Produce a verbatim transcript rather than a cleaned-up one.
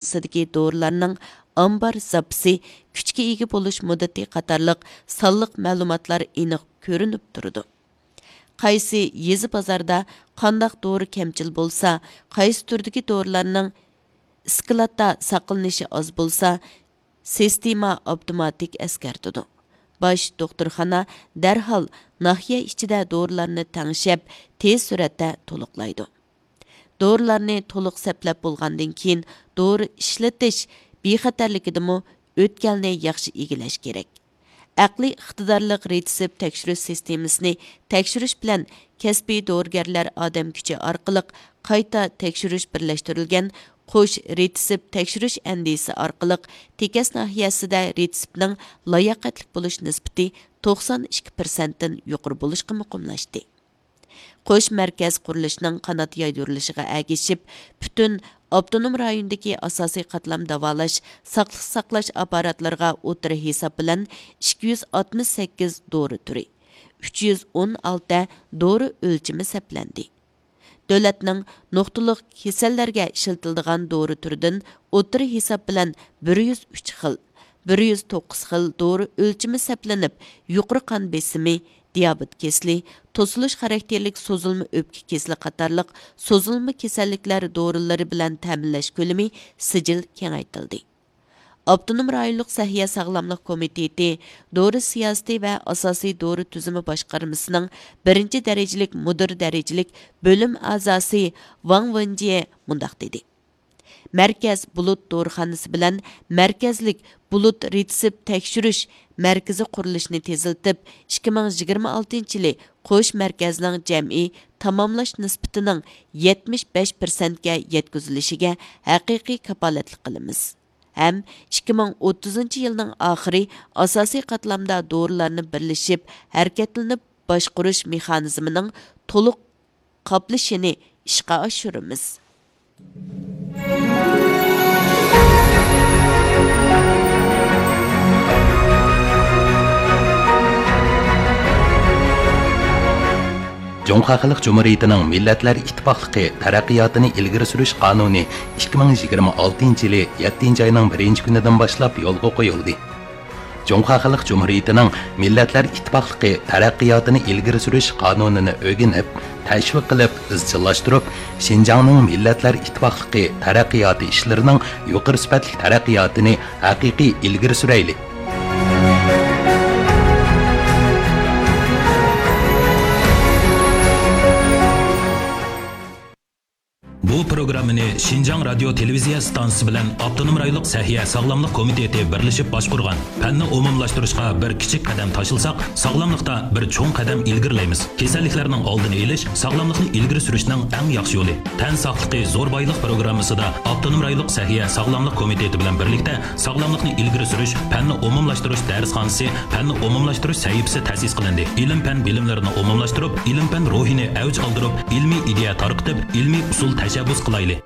ئىستانسىسىدىكى دورىلارنىڭ ئامبار زاپىسى، كۈچكە ئىگە بولۇش مۇددىتى قاتارلىق سانلىق مەلۇماتلار ئېنىق كۆرۈنۈپ تۇرىدۇ. قايسى يېزا بازاردا قانداق دورا كەمچىل بولسا، قايسى تۈردىكى دورىلارنىڭ ئىسكىلاتتا ساقلىنىشى ئاز بولسا، سىستېما ئاپتوماتىك ئەسكەرتىدۇ. باش دوختۇرخانا دەرھال ناھىيە ئىچىدە دورىلارنى تەڭشەپ، تېز سۈرئەتتە تولۇقلايدۇ. دورىلارنى تولۇق سەپلەپ بولغاندىن كېيىن، دورا ئىشلىتىش بىخەتەرلىكىدىمۇ ئۆتكەلنى ياخشى ئىگىلەش كېرەك. ئەقلىي ئىقتىدارلىق رېتسېپ تەكشۈرۈش سىستېمىسىنى تەكشۈرۈش بىلەن كەسپىي دورىگەرلەر ئادەم كۈچى ئارقىلىق قايتا تەكشۈرۈش بىرلەشتۈرۈلگەن قوش رېتسېپ تەكشۈرۈش ئەندىزىسى ئارقىلىق تېكەس ناھىيەسىدە رېتسېپنىڭ لاياقەتلىك بولۇش نىسبىتى توقسان ئىككى پىرسەنتتىن يۇقىرى بولۇشقا مۇقىملاشتى. قوش مەركەز قۇرۇلۇشىنىڭ قانات يايدۇرۇلۇشىغا ئەگىشىپ، پۈتۈن ئاپتونوم رايوندىكى ئاساسىي قاتلام داۋالاش، ساقلىق ساقلاش ئاپپاراتلىرىغا ئوتتۇرا ھېساب بىلەن ئىككى يۈز ئاتمىش سەككىز دورا تۈرى، ئۈچ يۈز ئون ئالتە دورا ئۆلچىمى سەپلەندى. دۆلەتنىڭ نۇقتىلىق كېسەللەرگە ئىشلىتىلىدىغان دورا تۈرىدىن ئوتتۇرا ھېساب بىلەن بىر يۈز ئۈچ خىل، بىر يۈز توققۇز خىل دورا ئۆلچىمى سەپلىنىپ، يۇقىرى قان بېسىمى، دىيابېت كېسىلى، توسۇلۇش خاراكتېرلىك سوزۇلما ئۆپكە كېسىلى قاتارلىق سوزۇلما كېسەللىكلەر دورىلىرى بىلەن تەمىنلەش كۆلىمى سىجىل كېڭەيتىلدى. ئاپتونوم رايونلۇق سەھىيە ساغلاملىق كومىتېتى دورا سىياسىتى ۋە ئاساسىي دورا تۈزۈمى باشقارمىسىنىڭ بىرىنچى دەرىجىلىك مۇدىر دەرىجىلىك بۆلۈم ئەزاسى ۋاڭ ۋېنجيې مۇنداق دېدى: مەركەز بۇلۇت دورىخانىسى بىلەن مەركەزلىك بۇلۇت رېتسېپ تەكشۈرۈش مەركىزى قۇرۇلۇشىنى تېزلىتىپ، ئىككى مىڭ يىگىرمە ئالتىنچى يىلى قوش مەركەزنىڭ جەمئىي تاماملاش نىسبىتىنىڭ يەتمىش بەش پىرسەنتكە يەتكۈزۈلۈشىگە ھەقىقىي كاپالەتلىك قىلىمىز ھەم ئىككى مىڭ ئوتتۇزىنچى يىلنىڭ ئاخىرى ئاساسىي قاتلامدا دورىلارنى بىرلىشىپ ھەرىكەتلىنىپ باشقۇرۇش مېخانىزمىنىڭ تولۇق قاپلىشىنى ئىشقا ئاشۇرىمىز. جۇڭخۇا خەلق جۇمھۇرىيىتىنىڭ مىللەتلەر ئىتتىپاقلىقى تەرەققىياتىنى ئىلگىرى سۈرۈش قانۇنى ئىككى مىڭ يىگىرمە ئالتىنچى يىلى يەتتىنچى ئاينىڭ بىرىنچى كۈنىدىن باشلاپ يولغا قويۇلدى. جۇڭخۇا خەلق جۇمھۇرىيىتىنىڭ مىللەتلەر ئىتتىپاقلىقى تەرەققىياتىنى ئىلگىرى سۈرۈش قانۇنىنى ئۆگىنىپ، تەشۋىق قىلىپ، ئىزچىللاشتۇرۇپ، شىنجاڭنىڭ مىللەتلەر ئىتتىپاقلىقى تەرەققىياتى ئىشلىرىنىڭ يۇقىرى سۈپەتلىك تەرەققىياتىنى ھەقىقىي ئىلگىرى سۈرەيلى. بۇ پروگراممىنى شىنجاڭ رادىيو تېلېۋىزىيە ئىستانسىسى بىلەن ئاپتونوم رايونلۇق سەھىيە ساغلاملىق كومىتېتى بىرلىشىپ باشقۇرغان. پەننى ئومۇملاشتۇرۇشقا بىر كىچىك قەدەم تاشلىساق، ساغلاملىقتا بىر چوڭ قەدەم ئىلگىرىلەيمىز. كېسەللىكلەرنىڭ ئالدىنى ئېلىش، ساغلاملىقنى ئىلگىرى سۈرۈشنىڭ ئەڭ ياخشى يولى. تەن ساقلىقى زور بايلىق پروگراممىسىدا ئاپتونوم رايونلۇق سەھىيە ساغلاملىق كومىتېتى بىلەن بىرلىكتە ساغلاملىقنى ئىلگىرى سۈرۈش، پەننى ئومۇملاشتۇرۇش دەرسخانىسى، پەننى ئومۇملاشتۇرۇش سەھىپىسى تەسىس قىلىندى. ئىلىم-پەن بىلىملىرىنى ئومۇملاشتۇرۇپ، ئىلىم-پەن روھىنى ئەۋج ئالدۇرۇپ، ئىلمىي ئىدىيە تارقىتىپ، ئىلمىي ئۇسۇل تەشەببۇس قىلايلى.